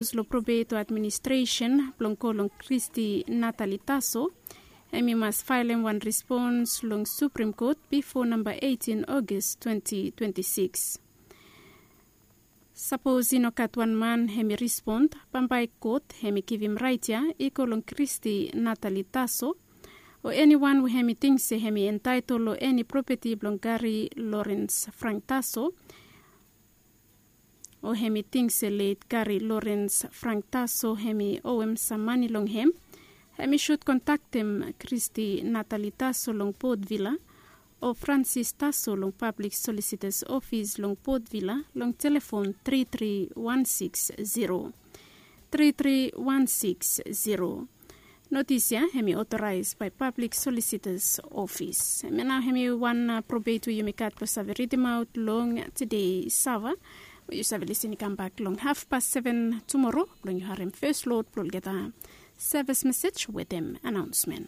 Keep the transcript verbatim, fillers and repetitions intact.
Lo probeto administresen blong go long kristi natali taso, hem i mas faelem wan respons long suprim kot bifo namba eightin ogis twenty twenty-six. Sapos i no gat wan man hem i respond, bambae kot hem i givim rait ya i go long kristi natali taso, o eniwan we hem i ting se hem i entaetol long eni propeti blong gari lorens frank taso, o hem i ting se let gari lorens frank taso hem i owem sam mani long hem, hem i sud kontaktem kristi natali taso long potvila, o fransis taso long pablik solisitas ofis long potvila long telefon tri tri wan siks zero, tri tri wan siks zero. Notis ya hem i otoraes bae pablik solisitas ofis. Hem ya nao hem i wan probet we yumi gat blong save ridimaot long tede sava, we yu save lisin i kambak long hafpas seven tumoro blong yu harem fes lod blong olgeta sevis mesej wetem anaonsmen.